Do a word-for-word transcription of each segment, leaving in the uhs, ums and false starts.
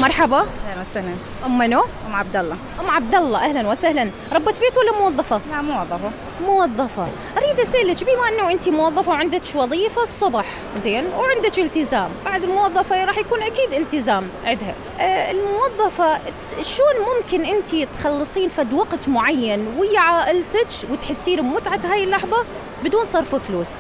مرحبا. اهلا وسهلا. ام منو؟ ام عبد الله. ام عبد الله اهلا وسهلا. ربة بيت ولا موظفة؟ لا موظفة. موظفة. اريد اسالك بما انه انت موظفة وعندك وظيفة الصبح زين وعندك التزام، بعد الموظفة راح يكون اكيد التزام عندها. آه الموظفة شلون ممكن انت تخلصين فد وقت معين ويا عائلتك وتحسين بمتعة هاي اللحظة بدون صرف فلوس؟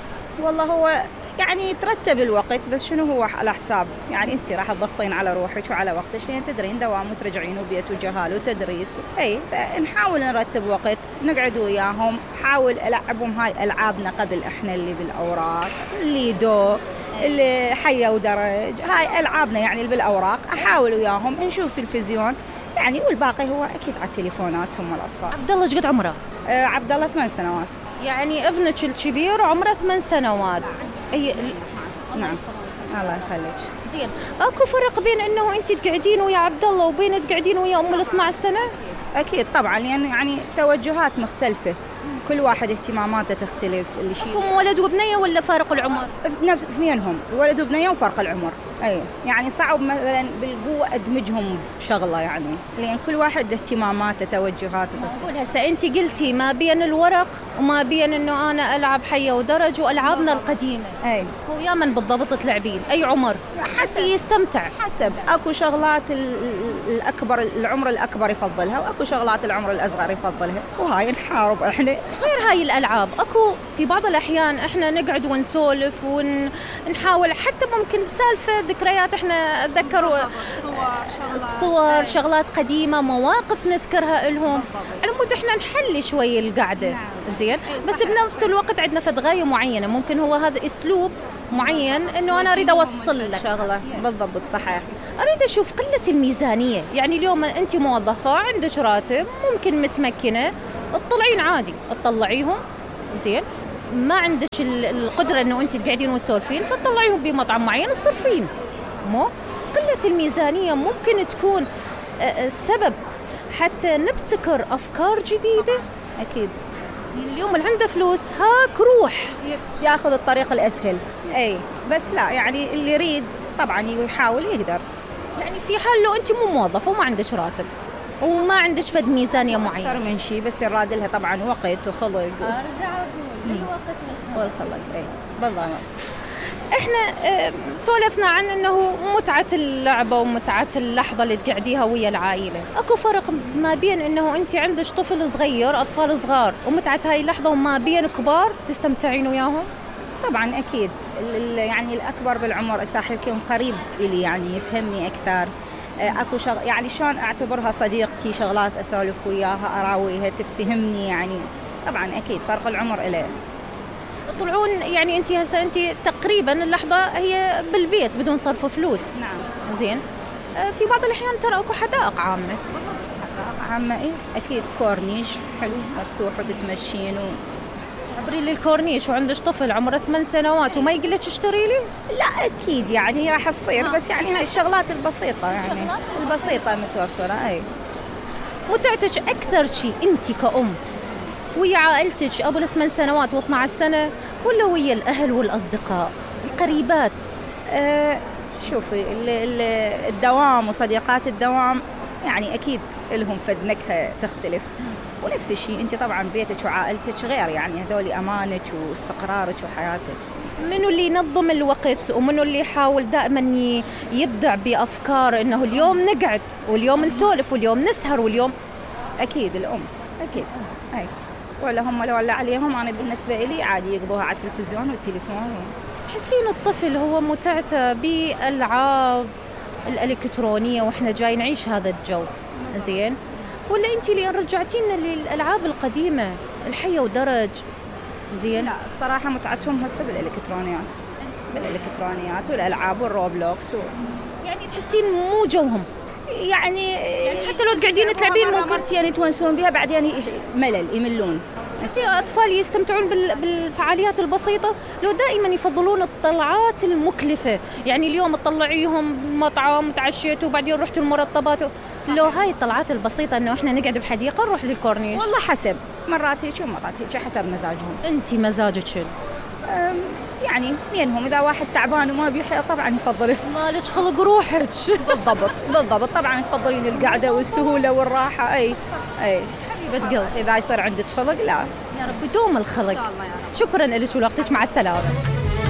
والله هو يعني ترتب الوقت، بس شنو هو على حساب، يعني انت راح تضغطين على روحك وعلى وقتك لين تدرين دوام وترجعين وبيت وجهال وتدريس. اي فنحاول نرتب وقت نقعد وياهم، حاول العبهم هاي العابنا قبل احنا اللي بالاوراق، الليدو، اللي حيه ودرج، هاي العابنا يعني اللي بالاوراق، احاول وياهم نشوف تلفزيون يعني، والباقي هو اكيد على التليفونات هم الاطفال. عبد الله ايش قد عمره؟ آه عبد الله ثمان سنوات. يعني ابنك الكبير عمره ثمان سنوات. اي نعم الله يخليك. زين، اكو فرق بين انه انت تقعدين ويا عبد الله وبين تقعدين ويا ام ال اثنعش سنه؟ اكيد طبعا، لان يعني توجهات مختلفه، كل واحد اهتماماته تختلف. اللي شيء هم ولد وبنيه ولا فارق العمر؟ نفس اثنينهم، ولد وبنيه وفرق العمر. اي يعني صعب مثلا بالقوه ادمجهم بشغله، يعني لان كل واحد اهتماماته توجهاته. اقول هسه انت قلتي ما بين الورق وما بين انه انا العب حيه ودرج والعابنا القديمه. اي ويا من بالضبط تلعبين؟ اي عمر حسب يستمتع؟ حسب، اكو شغلات الاكبر العمر الاكبر يفضلها، واكو شغلات العمر الاصغر يفضلها، وهاي نحارب احنا. غير هاي الالعاب اكو في بعض الاحيان احنا نقعد ونسولف ونحاول حتى ممكن بسالفه ذكريات، احنا اتذكر الصور، شغلات قديمه، مواقف نذكرها لهم على مود احنا نحلي شوي القعده. زين، بس بنفس الوقت عندنا فد غايه معينه، ممكن هو هذا اسلوب معين انه انا اريد اوصل لك شغله. بالضبط صحيح. اريد اشوف قله الميزانيه، يعني اليوم انت موظفه عندك راتب ممكن متمكنه تطلعين عادي تطلعيهم، زين ما عندك القدره انه انت تقعدين وتسولفين فتطلعيهم بمطعم معين تصرفين. مو قله الميزانيه ممكن تكون السبب حتى نبتكر افكار جديده. اكيد اليوم اللي عنده فلوس هاك روح ياخذ الطريق الاسهل. اي بس لا، يعني اللي يريد طبعا يحاول يقدر. يعني في حال لو انت مو موظفه وما عندك راتب وما عندك فد ميزانيه معينه اكثر من شيء، بس يراد لها طبعا وقت وخلق. ارجع اقول الوقت والخلق. اي بالضبط. احنا اه سولفنا عن انه متعه اللعبه ومتعه اللحظه اللي تقعديها ويا العائله. اكو فرق ما بين انه انت عندك طفل صغير، اطفال صغار، ومتعه هاي اللحظه، وما بين كبار تستمتعين وياهم؟ طبعا اكيد، يعني الاكبر بالعمر صح يكون قريب الي، يعني يفهمني اكثر. اكو شغ... يعني شلون اعتبرها صديقتي، شغلات اسولف وياها اراويها تفتهمني، يعني طبعا اكيد فرق العمر له. يطلعون يعني انت هسه انت تقريبا اللحظه هي بالبيت بدون صرف فلوس. نعم. زين، في بعض الاحيان ترى اكو حدائق عامه. حدائق عامه ايه اكيد، كورنيش حلو مفتوح وتتمشين و... عبري لي الكورنيش وعندك طفل عمره ثمان سنوات وما يقول لك اشتري لي؟ لا اكيد يعني راح تصير، بس يعني هاي الشغلات البسيطه، يعني الشغلات البسيطه متوفره. اي متعتك اكثر شيء انت كأم ويا عائلتك ابو الثمان سنوات واثنعش سنه، ولا ويا الاهل والاصدقاء القريبات؟ أه شوفي الدوام وصديقات الدوام يعني اكيد لهم فد نكهه تختلف، ونفس الشيء انت طبعا بيتك وعائلتك غير، يعني هذول امانك واستقرارك وحياتك. منو اللي ينظم الوقت ومنو اللي يحاول دائما يبدع بافكار انه اليوم نقعد واليوم نسولف واليوم نسهر واليوم؟ اكيد الام اكيد. اي ولا هم لو ولا عليهم، انا بالنسبه لي عادي يقضوها على التلفزيون والتليفون. تحسين الطفل هو متعته بالالعاب الالكترونيه واحنا جاي نعيش هذا الجو زين، ولا انت اللي رجعتينا للالعاب القديمه الحيه ودرج؟ زين، لا الصراحه متعتهم هسه بالالكترونيات بالالكترونيات والالعاب والروبلوكس و... يعني تحسين مو جوهم، يعني, يعني حتى لو تقعدين تلعبين ممكن مرتين يتونسون بها بعدين ملل يملون. تحسين اطفال يستمتعون بالفعاليات البسيطه لو دائما يفضلون الطلعات المكلفه، يعني اليوم تطلعيهم مطعم تعشيتوا وبعدين رحتوا المرطبات، لو هاي الطلعات البسيطه انه احنا نقعد بحديقه نروح للكورنيش. والله حسب، مرات هيك ومرات هيك حسب مزاجهم. انت مزاجك شنو؟ يعني اثنينهم، إذا واحد تعبان وما بيحيا طبعا يفضل مالك خلق روحك. بالضبط بالضبط، طبعا تفضلين القعدة والسهولة والراحة. أي أي حبيبة قلبي، إذا يصير عندك خلق لا. يا رب يدوم الخلق. إن شاء الله يا رب. شكرا لك ولوقتك، مع السلامة.